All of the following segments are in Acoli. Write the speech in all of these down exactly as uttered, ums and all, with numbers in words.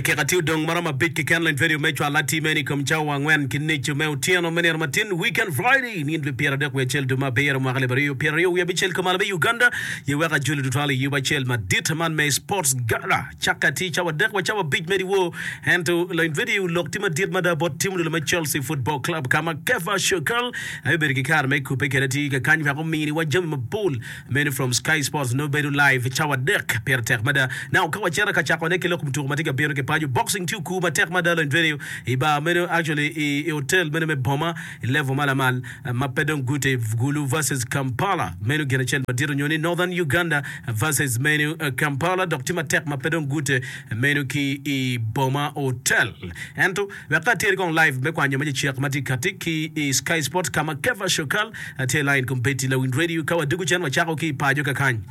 Dakika tye odong maromo abic keken lony vedio me cwalo atir meno i kom cawa angwen ki nucu me otyeno me nino matin Weekend Friday nino dwe pyera adek wiye acel dwe me abiro mwaka alip aryo pyera aryo wiye abicel kumalo me Uganda ye wek ajoli tutwal i yub acel madit man me Sports Gala cakke atir cawa adek wa cawa abic me dyewor ento lony vedio lok tye madit mada bot tim odilo me Chelsea Football Club ka ma Kefa Shokal aye obedo ki kare me kubbe kwede atir kakany wek ominiwa jami mapol meno from Sky Sports nongo bedo live cawa adek pire tek mada. Now ka wacito ka cako ne ki lok mutuku ma tye ka bino ki paco boxing tye okur matek mada lony vedio i bar meno actually i, i hotel meno me boma i level ma lamal ma pe dong gute Gulu versus Kampala meno gin acel madit onyo ni Northern Uganda versus meno Kampala dok tye matek ma pe dong gute meno ki i boma hotel ento wek ka ateri kong live me kwanyo ma cecek ma tye kati ki i Sky Sports ka ma Kefa Shokal tye line kombeddi lawiny radio ka wadugo cen wacako ki i paco kakany.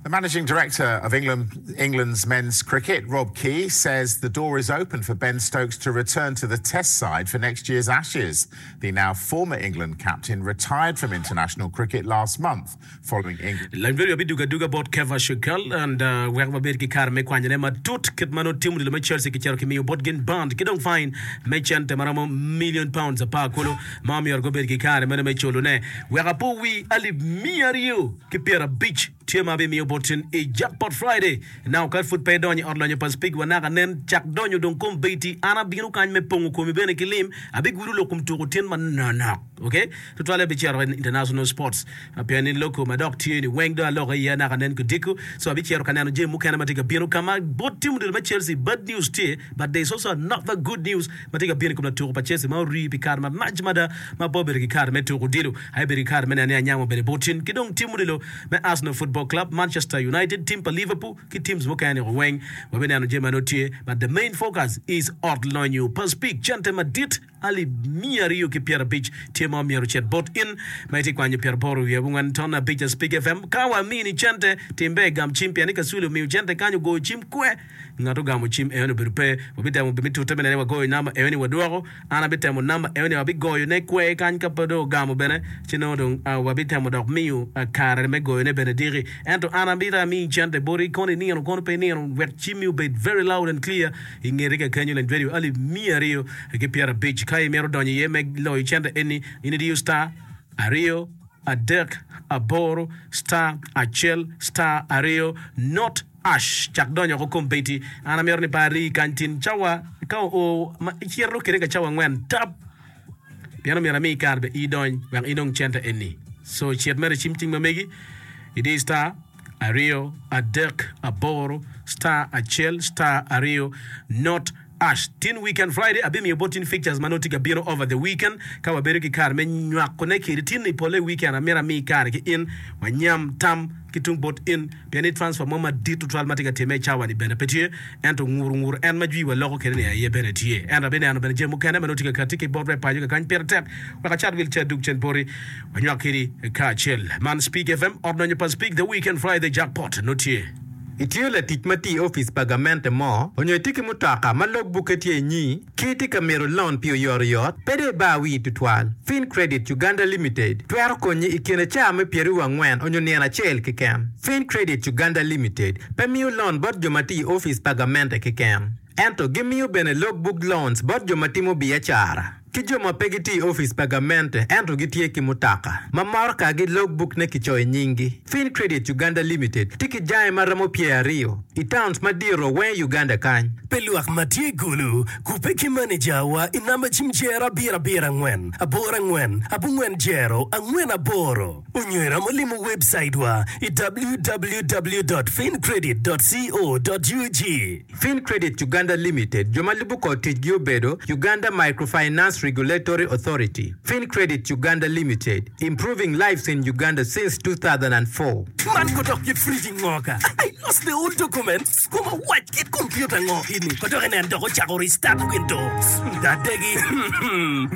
The managing director of England, England's men's cricket, Rob Key, says the door is open for Ben Stokes to return to the Test side for next year's Ashes. The now former England captain retired from international cricket last month following England. Lany bedo abidugo aduga bot Kefa Shokal and uh, wek wabed ki kare me kwanyone matut kit ma nongo timo odilo me Chelsea kicito kimiyo bot gin bond ki dong fine me cente maromo million pounds apar kulu ma omyero gubed ki kare meno me culone wek apo wi alip miya aryo ki pyerabic tye ma abimiyo bot in i Jackpot Friday. Now ka pud pe idonyo i ot lonyo pa Speke wanaka nen cak donyo dong kombeddi an abino kany me pongo komi bene ki lim abigudo lok kom tuko tin manonok okay tutwalle abicito i international sports pien ni loko ma dok tye ni weng dong aloko iye anaka nen kodiko so abicito ka neno jami mukene ma tye ka bino ka ma bot tim odilo me Chelsea bad news tye but there is also another good news ma tye ka bino i kom latuko pa Chelsea ma ori pi kare malac mada ma pe obedo ki kare me tuko odilo aye bedo ki kare me neno ni anyamo bene bot tin ki dong tim odilo me Arsenal Football Club Manchester United team pa Liverpool ki teams mukene weng wabineno jami ma nongo tye but the main focus is ot lonyo pa Speke cente madit alip miya aryo ki pyerabic tye ma omyero ocit bot in ma itye kwanyo pyeraboro wiye abongwen ton abic a Speke F M ka wamini cente timbe gam cim pien ni kasuli omiyo cente kany ogoyo cim kwe ngat ogamo cim eno obedo pe wabitemo mi tute me nene wagoyo namba eno ni wadwoko an abitemo namba eno ni wabigoyone kwe kany ka pe dong ogamo bene ci nongo dong uh, wabitemo dok miyo uh, kare me goyone bene diki ento an abita amiyi cente boti kono inino kono pe inino wek cimmi obed very loud and clear i ngeti kakenyo lany radio alip miya aryo ki pyerabic ka imito donyo iye me loyo cente eni in idiyo star aryo adek aboro star acel star aryo not hash cak donyo oko kombeddi an amito ni pe ari kany tin cawa ka oo ma icito kede ka cawa angwen tap pien omyero ami kare be idony wek inong cente eni so cit mere cim cing ma megi idi star aryo adek aboro star acel star aryo not hash tin weekend Friday abimiyo bot tin fixtures ma nongo tye ka bino over the weekend ka wabedo ki kare me nywakone kedi tin ni pole weekend amito ami kare ki in wanyam tam ki tung bot in pien ni transfer mo madit tutwal ma tye ka timme i cawa ni bene pe tye ento nguru nguru en ma jwi waloko kede ni aye bene tye ento abineno bene jami mukene ma nongo tye ka kati ki bot rep paco kakany pire tek wek acat wil ce adug cen boti wanywak kedi kacel man Speke F M ot lonyo pa Speke the weekend Friday jackpot no tye. Itye latic ma tye i opic pa gamente mo onyo itye ki mutoka ma logbukke tye inyi ki itye ka mito loan pi oyotoyot pe dong ibar wii tutwal. Fin Credit Uganda Limited twero konyi i kine caa me pyeraryo angwen onyo nino acel keken. Fin Credit Uganda Limited pe miyo loan bot jo ma tye i opic pa gamente keken ento gimiyo bene logbook loans bot jo ma timo biacara ki jo ma pe gitye i opic pa gamente ento gitye ki mutoka ma moroka-gi logbook ne kicoyo i nyinggi. Fin Credit Uganda Limited tye ki jange ma romo pyer aryo i towns madito weng i Uganda kany. Pi lwak ma tye i Gulu, kubbe ki manejawa i namba cim jero abiro abiro angwen aboro angwen abongwen jero angwen aboro onyo iromo limo webcait wa i w w w dot fincredit dot co dot u g. Fin Credit Uganda Limited jo ma lubo kor ticgi obedo Uganda Microfinance Regulatory Authority. Fin Credit Uganda Limited, improving lives in Uganda since two thousand four. Man kodok kit fridge ngoka. I lost the old documents. Kuma wac kit computer ngo ini. Kodok enen dok ocako restart window. Dadegi.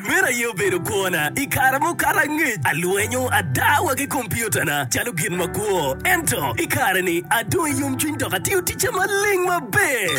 Meno aye obedo kwona. I kare mukato angec, alwenyo adawa ki computer na calo gin makwo. Ento, i kare ni adong i yomcwiny dok atiyo ticca maleng maber.